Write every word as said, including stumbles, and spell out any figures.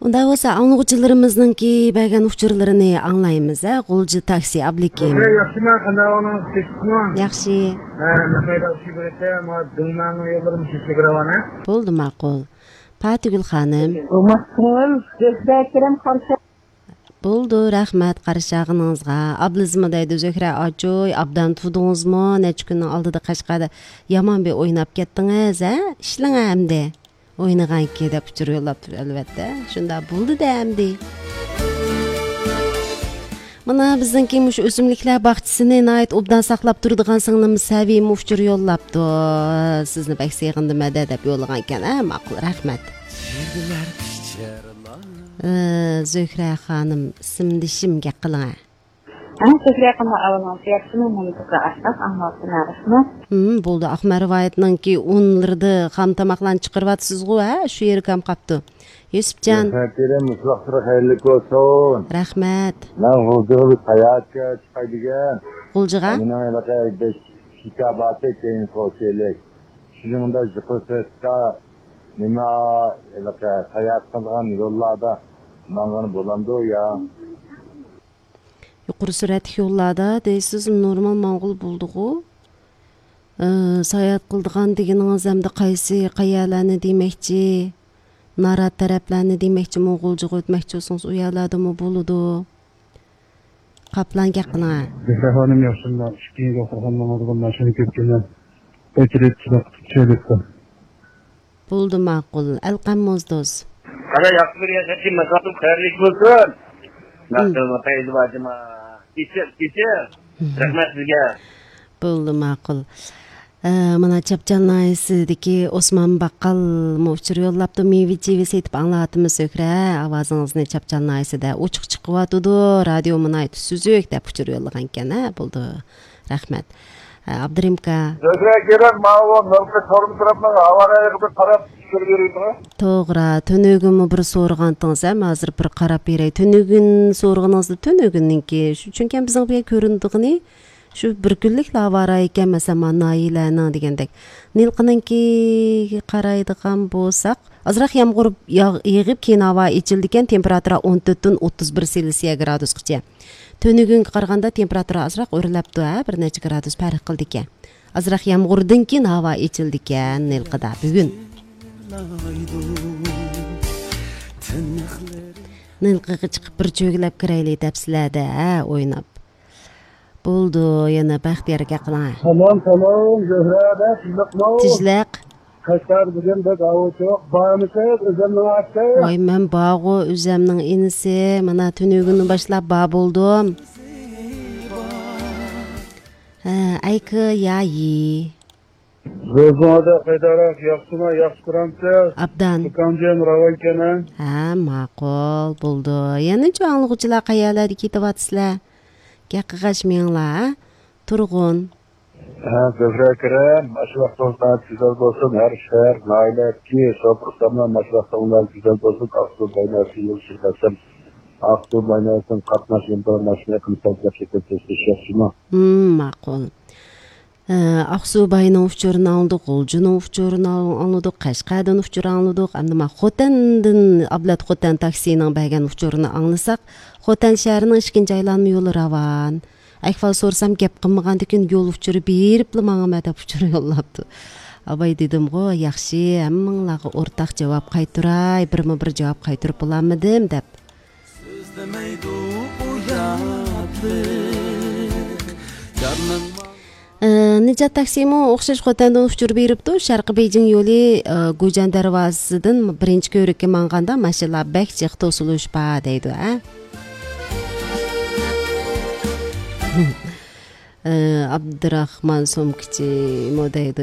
ئۇنداق بولسا، ئاڭلىغۇچىلىرىمىزنىڭكى بەرگەن ئۇچۇرلىرىنى ئاڭلايمىز، ھە؟ غۇلجا تاكسى، ئابلىكىم. ياخشىمۇ؟ قانداق ئەھۋالىڭىز؟ تىنچلىقمۇ؟ ياخشى. ھە، ناخايدا ئۇچۇر بېرىتتى، ما دىڭنانىڭ يوللىرىمۇ شۇ چېگرا ۋانە. بولدى، ماقۇل. پاتىگۈل خانىم. بولماس كۆڭۈل، زۆھرە ئەكرەم قارشى. بولدى، رەھمەت قارشى ئالغىنىڭىزغا. ئابلىزمۇ دەيدۇ، زۆھرە ئاچوي، ئابدان تۇردىڭىزمۇ؟ نەچچە كۈننىڭ ئالدىدا قەشقەردە يامان بىر ئويناپ كەتتىڭىز، ھە؟ ئىشلىڭە ئەمدى. ئوينىغانكى دەپ ئۇچۇر يوللاپتۇ، ئەلۋەتتە. شۇنداق بولدى-دە ئەمدى. مانا بىزنىڭكى مۇشۇ ئۆسۈملۈكلەر باغچىسىنى ناھايىتى ئوبدان ساقلاپ تۇرىدىغان سىڭلىمىز سەۋىيمۇ ئۇچۇر يوللاپتۇ. سىزنى بەك سېغىندىم ھەدە دەپ يوللىغانكەن. ھە، ماقۇل، رەھمەت. ئى، زۆھرە خانىم، ئىسىمدىشىم گەپ قىلىڭە. ھە، سۆزلەيقىمۇ ئەۋلىڭىز ياخشىمۇ، مۇنتىزا ئاشتاق ئاڭلاۋاتىمەن، رەھمەت. ھىم، بولدى. ئاقمەرۋايىتنىڭكى ئۇنلىرىدا خام تاماقلارنى چىقىرىۋاتىسىزغۇ، ھە؟ شۇ يېرى كام قاپتۇ. يۈسۈپجان. رەھمەت، بېرىم، مۇشۇ ۋاقىتلىرى خەيرلىك بولسۇن. رەھمەت. مەن غۇلجىغا بىر ساياھەتكە چىقاي دېگەن. غۇلجىغا؟ مېنىڭ ھېلىقى بىر شىكاباتى كەينى قوشۇلۇق. شۇنىڭدا يۇقىرى سۈرئەتتە نېمە، ھېلىقى ساياھەت قىلغان يوللاردا ماڭغىلى بولامدۇ يا؟ يۇقىرى سۈرئەتلىك يوللاردا دەيسىز، نورمال ماڭغىلى بولىدىغۇ. ئى، ساياھەت قىلىدىغان دېگىنىڭىز ئەمدى قايسى، قەيەرلەرنى دېمەكچى؟ نارات تەرەپلەرنى دېمەكچىمۇ، غۇلجىغا ئۆتمەكچى بولسىڭىز، ئۇ يەرلەردىمۇ بولىدۇ. قاپلان گەپ قىلىڭە. زۆھرە خانىم، ياخشىمۇ؟ ئىككىنچى ئوقۇغانلىرىڭىزغا ماشىنا كۆپ كېلىدۇ. ئۆچۈرۈپ چىراغ تۇتۇپ چۈشۈرۈپتۇ. بولدى، ماقۇل. ئەلقەم موزدوز. قاراي، ياخشى بىر ياشاشىم، ماقالىم خەيرلىك بولسۇن. مم. ماقالىم خەيرلىك بولسۇن. كېچىر، كېچىر. مم. رەھمەت سىزگە. بولدى، ماقۇل. ئە، مانا چاپچال ناھىيەسىدىكى ئوسمان باققالمۇ ئۇچۇر يوللاپتۇ. مېۋە-چېۋە سېتىپ ئاڭلاۋاتىمىز، زۆھرە. ئاۋازىڭىزنى چاپچال ناھىيەسىدە ئوچۇق چىقىۋاتىدۇ. رادىيو ناھايىتى سۈزۈك دەپ ئۇچۇر يوللىغانىكەن، ھە؟ بولدى. رەھمەت. ئە، ئابدۇرېھىم ئاكا. زۆھرە كېرەم، ماۋۇ نۇرغۇن تورۇم تەرەپنىڭ ھاۋا رايىغا بىر قاراپ چۈشۈرۈپ بېرەيمۇ؟ توغرا، تۈنۈگۈنمۇ بىر سورىغانتىڭىز ھەم، ھازىر بىر قاراپ بېرەي. تۈنۈگۈن سورىغىنىڭىزدا تۈنۈگۈننىڭكى، شۇ، چۈنكى بىزنىڭ بۇ يەر كۆرۈنىدىغىنى شۇ بىر كۈنلۈكلا ھاۋا رايى ئىكەن، مەسىلەن، مانا ناھىيەلەرنىڭ دېگەندەك. نىلقىنىڭكىگە قارايدىغان بولساق، ئازراق يامغۇر ياغ-، يېغىپ، كېيىن ھاۋا ئېچىلىدىكەن، تېمپېراتۇرا ئون تۆتتىن ئوتتۇز بىر سېلسىيە گرادۇسقىچە. تۈنۈگۈنگە قارىغاندا تېمپېراتۇرا ئازراق ئۆرلەپتۇ، ھە، بىر نەچچە گرادۇس پەرق قىلىدىكەن. ئازراق يامغۇردىن كېيىن ھاۋا ئېچىلىدىكەن نىلقىدا بۈگۈن. نىلقىغا چىقىپ بىر چۆگىلەپ كىرەيلى دەپسىلەردە، ھە، ئويناپ. بولدى، يەنە بەختىيار ئاكا قىلىڭ. سالام، سالام، زۆھرە ئەپەندى، تىنچلىقمۇ؟ تىنچلىق. قەشقەر بۈگۈن بەك ئاۋۇچۇق، بارمىسىز ئۆزەمنىڭ ئاستى؟ ۋاي، مەن بارغۇ، ئۆزەمنىڭ ئىنىسى، مانا تۈنۈگۈندىن باشلاپ بار بولدۇم. ھە، ئەيكى يايى. روزىڭىزدا قايداراق، ياخشىمۇ، ياخشى تۇرامسىز؟ ئابدان. دۇكانجان راۋانكەن، ھە؟ ھە، ماقۇل، بولدى. يەنىچۇ ئاڭلىغۇچىلار قەيەرلەردە كېتىۋاتىسىلەر؟ گەپ قىلغاچ مېڭىڭلار، ھە؟ تۇرغۇن. ھە، زۆھرە ئەكرەم، ئاشۇ ۋاقتىڭىز ناھايىتى گۈزەل بولسۇن. ھەر شەھەر، ناھىيەلەردىكى شوپۇرلارنىڭ ئاشۇ ۋاقتىڭلار گۈزەل بولسۇن. ئاقسۇ بايناسى يولى شىركەتلىرى، ئاقسۇ بايناسىدىن قاتناش يوللىرى ماشىنا قىلساڭ گەپ شەكىل تېز تېز ياخشىمۇ؟ ھىم، ماقۇل. ئە، ئاقسۇ باينىڭ ئۇچۇرىنى ئاڭلىدۇق، غۇلجىنىڭ ئۇچۇرىنى ئاڭلىدۇق، قەشقەردىن ئۇچۇر ئاڭلىدۇق. ئەمدى ما خوتەندىن ئابلەت خوتەن تاكسىنىڭ بەرگەن ئۇچۇرىنى ئاڭلىساق، خوتەن شەھىرىنىڭ ئىككىنچى ئايلانما يولى راۋان. ئەھۋال سورىسام، گەپ قىلمىغاندىكىن يول ئۇچۇرى بېرىپلا ماڭىمەن دەپ ئۇچۇر يوللاپتۇ. ئاباي دېدىمغۇ، ياخشى، ھەممىڭلارغا ئورتاق جاۋاب قايتۇراي، بىرمۇ بىر جاۋاب قايتۇرۇپ بولالمىدىم دەپ. ئە، نىجات تاكسىمۇ ئوخشاش خوتەندىن ئۇچۇر بېرىپتۇ. شەرقىي بېيجىڭ يولى، ئە، گۇجيەن دەرۋازىسىدىن بىرىنچى كۆۋرۈككە ماڭغاندا ماشىنىلار بەك جىق توسۇلۇش بار دەيدۇ، ھە؟ ئە، ئابدۇراخمان سومكىچىمۇ دەيدۇ.